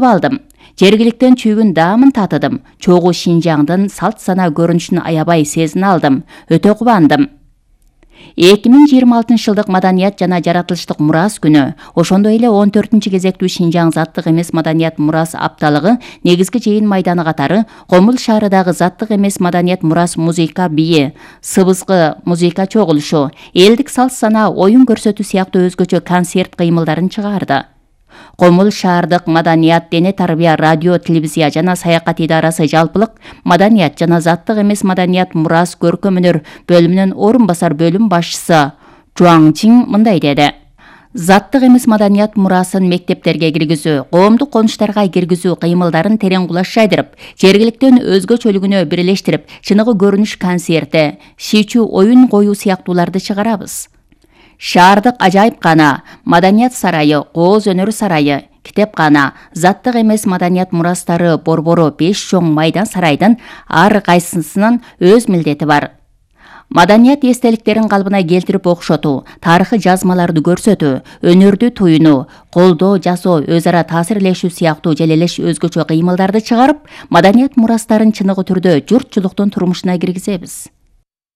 алдым. Жергиликтен чүйгүн даамын татыдым. Чогуу Шинжаңдын салт сана көрүнүшүн аябай сезине алдым. Өтө кубандым. 2026 жылдык маданият жана жаратылыштык мурас күнү, ошондой эле 14-кезектүү Шинжаң заттык эмес маданият мурас апталыгы негизги жыйын майданы катары Комул шаарындагы заттык эмес маданият мурас музыка бии, сыбызгы музыка чогулушу, элдик салт сана, оюн көрсөтүү сыяктуу өзгөчө концерт кыймылдарын чыгарды. Комул шаардык маданият, дене тарбия, радио, телевизия жана саякат идарасы жалпылык маданият жана заттык эмес маданият мурас көркөм өнөр бөлүмүнүн орун басар бөлүм башчысы Жуаң Чин мындай деди. Заттык эмес маданият мурасын мектептерге киргизүү, коомдук конуштарга киргизүү кыймылдарын терең кулаш жайдырып, жергиликтен өзгөчөлүгүнө бирлештирип, чыныгы көрүнүш концерти, шийчүү оюн коюу сыяктууларды чыгарабыз. Шаардык ажайыпкана, маданият сарайы, кооз өнөр сарайы, китепкана, заттык эмес маданият мурастары борбору 5 чоң майдан сарайдын ар кайсысынын өз милдети бар. Маданият эстеликтерин калыбына келтирип окшотуу, тарыхый жазмаларды көрсөтүү, өнөрдү туюнуу, колдоо жасоо, өз ара таасирлешүү сыяктуу желелеш өзгөчө кыймылдарды чыгарып, маданият мурастарын чыныгы түрдө журтчулуктун турмушуна киргизебиз.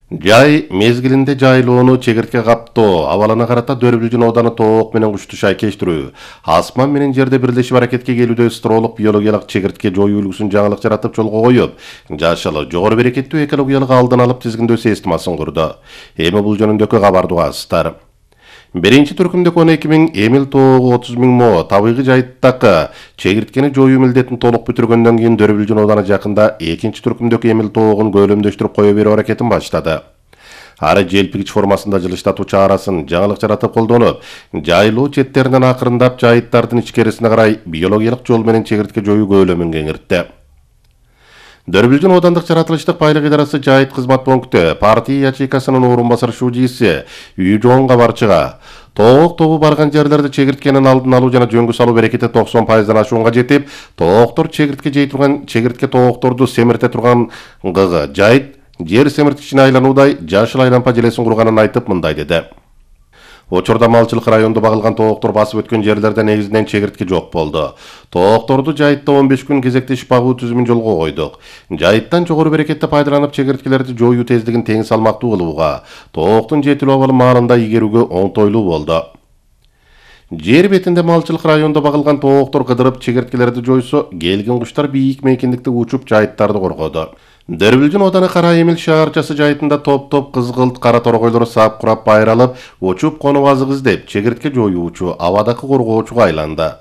Жай мезгилинде жайлоону чегиртке каптоо, абалына карата Дөрбүлжүн ооданы тоок менен кушту шайкештирүү, асман менен жерде бирлешип аракетке келүүдө стролук биологиялык чегиртке жоюу үлгүсүн жаңылык жаратып жолго коюп, жашыл, жогору берекеттүү экологиялык алдын алып тизгиндөө системасын курду. Эми бул жөнүндөгү кабарды угасыздар. Биринчи түркүмдө 12.000, Эмил тоогу 30.000 мо табигый жайыттакы чегирткени жоюу милдетин толук бүтүргөндөн кийин Дөрбүлжүн ооданы жакында экинчи түркүмдөгү Эмил тоогун көлөмдөштүрүп кое берүү аракетин баштады. Ары желпигич формасында жылыштатуучу арасын жаңылык жаратып колдонуп, жайлоо четтеринен акырындап жайыттардын ичкерисине карай биологиялык жол менен чегиртке жоюу көлөмүн кеңиртти. Дөрбүлжүн оодандык жаратылыштык байлык идарасы жайыт кызмат пункту партия ячейкасынын орун басар шужийси Үй Жоон кабарчыга тоок тобу барган жерлерде чегирткенин алдын алуу жана жөнгө салуу берекети 90%дан ашуунга жетип, тооктор чегиртке жей турган чегиртке тоокторду семирте турган гыгы жайыт жер семирткичине айлануудай жашыл айлампа желесин курганын айтып мындай деди. Учурда малчылык райондо багылган тооктор басып өткөн жерлерде негизинен чегиртке жок болду. Тоокторду жайытта 15 күн кезектешип багуу түзүмүн жолго койдук. Жайыттан жогору берекетти пайдаланып чегирткелерди жоюу тездигин тең салмактуу кылууга, тооктун жетилүү абалы маалында игерүүгө оңтойлуу болду. Жер бетинде малчылык райондо багылган тооктор кыдырып чегирткелерди жойсо, келген куштар бийик мейкиндикте учуп жайыттарды коргоду. Дөрбүлжүн ооданы Кара Эмил шаарчасы жайытында топ-топ кызгылт кара торгойлор сап курап байралып, учуп конуп азык издеп, чегиртке жоюучу, абадакы коргоочуга айланды.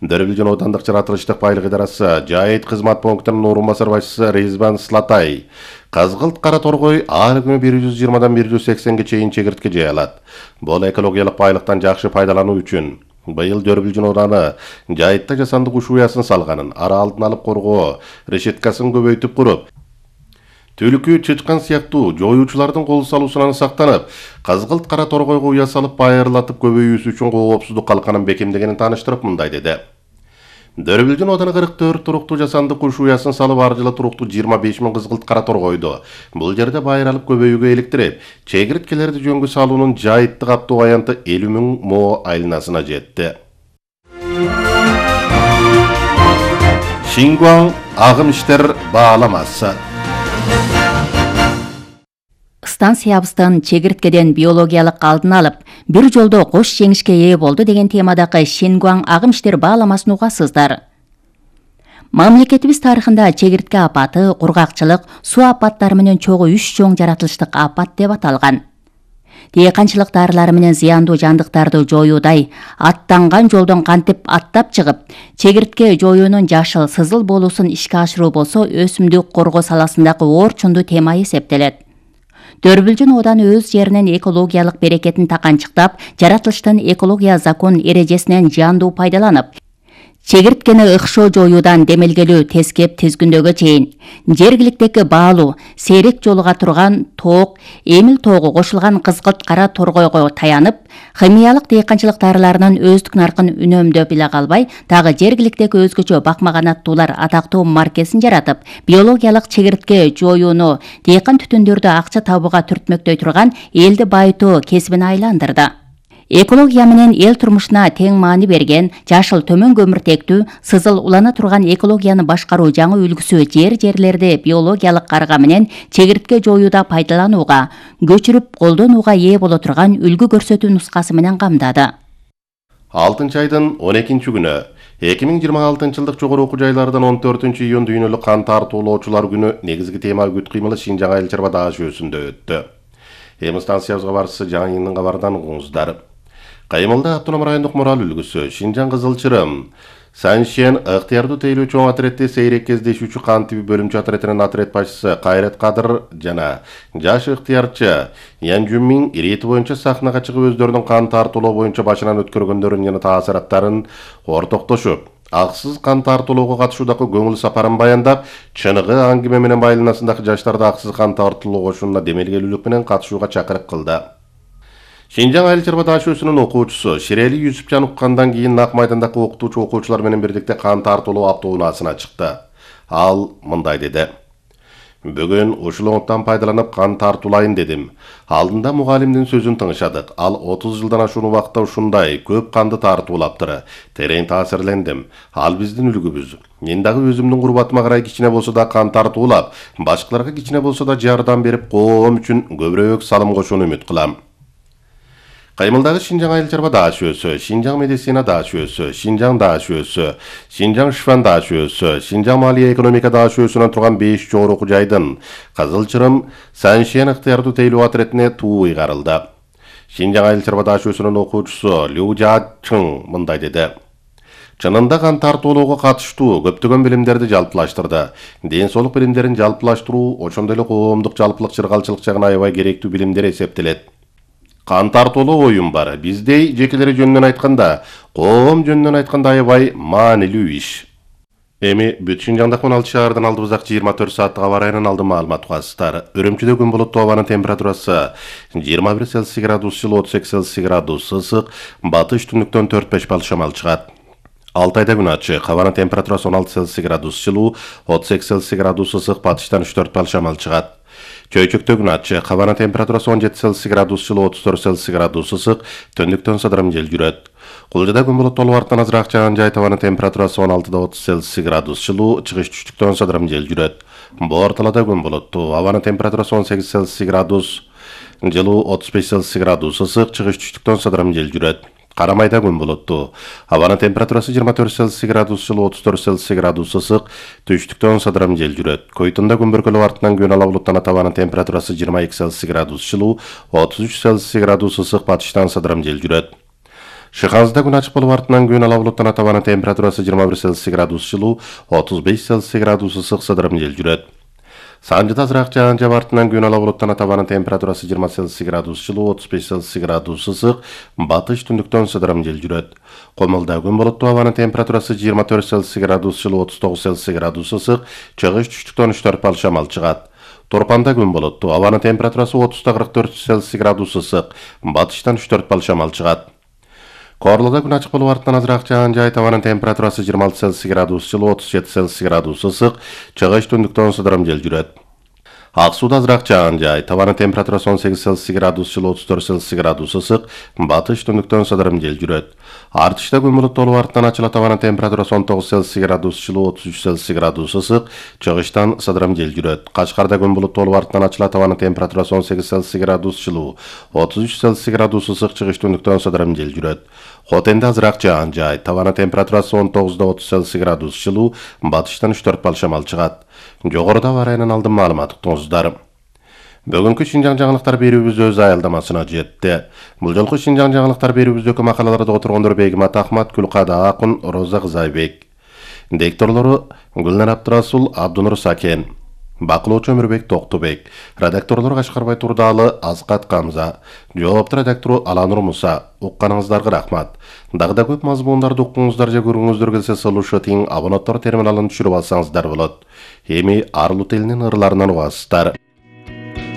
Дөрбүлжүн оодандык жаратылыштык байлык идарасы жайыт кызмат пунктунун орун басар башчысы Резбан Слатай кызгылт кара торгой ар күнү 120дан 180ге чейин чегиртке жей алат. Бул экологиялык байлыктан жакшы пайдалануу үчүн быйыл Дөрбүлжүн ооданы жайытта жасанды куш уясын салганын, ара алдын алып коргоо решеткасын көбөйтүп куруп, түлкү, чычкан сыяктуу жоюучулардын кол салуусунан сактанып, кызгылт кара торгойго уя салып байырлатып көбөйүүсү үчүн коопсуздук калканын бекемдегенин тааныштырып мындай деди. Дөрбүлжүн ооданы 44 туруктуу жасанды куш уясын салып, ар жылы туруктуу 25.000 кызгылт кара торгойду бул жерде байыралып көбөйүүгө иликтирип, чегирткелерди жөнгө салуунун жайытты каптоо аянты 50.000 мо айланасына жетти. Шингуаң агым иштер бааламасы. Станциябыздын чегирткеден биологиялык алдын алып, бир жолдо кош жеңишке ээ болду деген темадагы Шингуаң агым иштер бааламасын угасыздар. Мамлекетибиз тарыхында чегиртке апаты, кургакчылык, суу апаттары менен чогуу 3 чоң жаратылыштык апат деп аталган. Дыйканчылык дарылары менен зыяндуу жандыктарды жоюудай аттанган жолдон кантип аттап чыгып, чегиртке жоюунун жашыл, сызыл болуусун ишке ашыруу болсо, өсүмдүк коргоо саласындагы орчундуу тема эсептелет. Дөрбүлжүн ооданы өз жеринин экологиялык берекетин таканчыктап, жаратылыштын экология закон эрежесинен жандуу пайдаланып, чегирткени ыкшоо жоюудан демелгелүү тескеп тизгүндөгө чейин жергиликтеги баалуу, сейрек жолуга турган тоок, Эмил тоогу кошулган кызгылт кара торгойго таянып, химиялык дыйканчылык дарыларынын өздүк наркын үнөмдөп эле калбай, дагы жергиликтеги өзгөчө бакмаганаттуулар атактуу маркесин жаратып, биологиялык чегиртке жоюуну дыйкан түтүндөрдү акча табууга түртмөктөй турган элди байытуу кесибине айландырды. Экология менен эл турмушуна тең маани берген, жашыл төмөн көмүртектүү, сызыл улана турган экологияны башкаруу жаңы үлгүсү жерлерди биологиялык карга менен чегиртке жоюуда пайдаланууга, көчүрүп колдонууга ээ боло турган үлгү көрсөтүү нускасы менен камдады. 6-айдын 12-күнү 2026-жылдык жогору окуу жайлардан 14-июнь дүйнөлүк кан тартуулоочулар күнү негизги тема үгүт кыймылы Шинжаң айыл чарба даашөсүндө өттү. Эми станциябызга барысы жаңы йылдын кабардан угуңуздар. Кыймылда автоном райондук мурал үлгүсү Шинжаң Кызылчырым Саншен ыктыярдуу тейлөө чоң отрядте сейрек кездешүүчү кан тиби бөлүмчө отрядынын отряд башчысы Кайрат Кадыр жана жаш ыктыярчы Ян Жумин ирети боюнча сахнага чыгып өздөрүнүн кан тартуулоо боюнча башынан өткөргөндөрүн жана таасираттарын ортоктошуп, аксыз кан тартуулоого катышуудагы көңүл сапарын баяндап, чыныгы аңгиме менен байланасындагы жаштарды аксыз кан тартуулоо кошунуна демелгелүүлүк менен катышууга чакырык кылды. Шинжаң айыл чарба даашөсүнүн окуучусу Ширели Юсупжан уккандан кийин Ак майдандагы окутуучу окуучулар менен бирдикте кан тартуулоо автоунаасына чыкты. Ал мындай деди: "Бүгүн ушул оңуттан пайдаланып кан тартуулайын дедим. Алдында мугалимдин сөзүн тыңышадык. Ал 30 жылдан ашуун убакытта ушундай көп канды тартуулаптыр. Терең таасирлендим. Ал биздин үлгүбүз. Мен дагы өзүмдүн курбатыма карай кичине болсо да кан тартуулап, башкаларга кичине болсо да жардам берип, коом үчүн көбүрөөк салым кошууну үмүт кылам." Кыймылдагы Шинжаң айыл чарба даашөсү, Шинжаң медицина даашөсү, Шинжаң даашөсү, Шинжаң шифан даашөсү, Шинжаң малия экономика даашөсүнөн турган 5 жогору окуу жайдын Кызылчырым Саншен ыктыярдуу тейлөө отрядине туу ыйгарылды. Шинжаң айыл чарба даашөсүнүн окуучусу Лю Жачың мындай деди: "Чынында кан тартуулоого катыштуу көптөгөн билимдерди жалпылаштырды. Ден соолук билимдерин жалпылаштыруу ошондой эле коомдук жалпылык чыргалчылык жагына аябай керектүү билимдер эсептелет. Кан тартуулоо оюм бар. Биздей жекелери жөнүнөн айтканда, коом жөнүнөн айтканда аябай маанилүү иш." Эми бүт Шинжаңдагы 16 шаардан алдыбыздагы 24 сааттык аба ырайынан алдын маалымат угасыздар. Үрүмчүдө күн булуттуу, абанын температурасы 21 Цельсий градус жылуу, 32 Цельсий градус ысык, батыш түндүктөн 4-5 балл шамал чыгат. Алтайда күн ачык, абанын температурасы 16 Цельсий градус жылуу, 38 Цельсий градус ысык, батыштан 3-4 балл шамал чыгат. Чөйчөктө күн ачык, абанын температурасы 17 Цельсий градус жылуу, 34 Цельсий градус ысык, түндүктөн сыдырым жел жүрөт. Кулжада күн булуттуу болуп артынан азыраак жааган жай, абанын температурасы 16-30 Цельсий градус жылуу, чыгыш түштүктөн сыдырым жел жүрөт. Боор талаада күн булуттуу, абанын температурасы 18 Цельсий градус жылуу, 35 Цельсий градус ысык, чыгыш түштүктөн сыдырым жел жүрөт. Карамайда күн булуттуу, абанын температурасы 24 Цельсий градус жылуу, 34 Цельсий градус ысык, түштүктөн сыдырым жел жүрөт. Койтунда күн бүркөлөп артынан күн ала булуттанат, абанын температурасы 22 Цельсий градус жылуу, 33 Цельсий градус ысык, батыштан сыдырым жел жүрөт. Шыханзда күн ачык болуп артынан күн ала булуттанат, абанын температурасы 21 Цельсий градус жылуу, 35 Цельсий градус ысык, сыдырым жел жүрөт. Санжыда азыраак жааган жаап артынан күн ала булуттанат, абанын температурасы 20 Цельсий градус жылуу, 35 Цельсий градус ысык, батыш түндүктөн сыдырым жел жүрөт. Комулда күн булуттуу, абанын температурасы 24 Цельсий градус жылуу, 39 Цельсий градус ысык, чыгыш түштүктөн 3-4 балл шамал чыгат. Торпанда күн булуттуу, абанын температурасы 30-44 Цельсий градус ысык, батыштан 3-4 балл шамал чыгат. Корлоодо күн ачык болуп артынан азыраак жааган жай, абанын температурасы 26 Цельсий градус жылуу, 37 Цельсий градус ысык, чыгыш түндүктөн сыдырым жел жүрөт. Ак сууда азыраак жааган жай, абанын температурасы 18 Цельсий градус жылуу, 34 Цельсий градус ысык, батыш түндүктөн сыдырым жел жүрөт. Артышта күн булуттуу болуп артынан ачылат, абанын температурасы 19 Цельсий градус жылуу, 33 Цельсий градус ысык, чыгыштан сыдырым жел жүрөт. Кашкарда күн булуттуу болуп артынан ачылат, абанын температурасы 18 Цельсий градус жылуу, 33 Цельсий градус ысык, чыгыш түндүктөн сыдырым жел жүрөт. Хотенде азыраак жааган жай, абанын температурасы 19-30 Цельсий градус жылуу, батыштан 3-4 балл шамал чыгат. Жогоруда аба ырайынан алдын маалымат уктуңуздар. Бүгүнкү Шинжаң жаңылыктар берүүбүз өз аялдамасына жетти. Бул жолку Шинжаң жаңылыктар берүүбүздөгү макалаларды отургондор Бегимат Ахмат, Күлкада Акун, Роза Кызайбек. Дикторлору Гүлнар Абдрасул, Абдунур Сакен. Бакылоочу Өмүрбек Токтубек. Редакторлор Кашкарбай Турдалы, Азкат Камза. Жоопту редактору Аланур Муса. Укканыңыздарга рахмат. Дагы да көп мазмундарды уккуңуздар же көргүңүздөр келсе, слушатин абонаттар терминалын түшүрүп алсаңыздар болот. Эми Арлут элинин ырларынан угасыздар.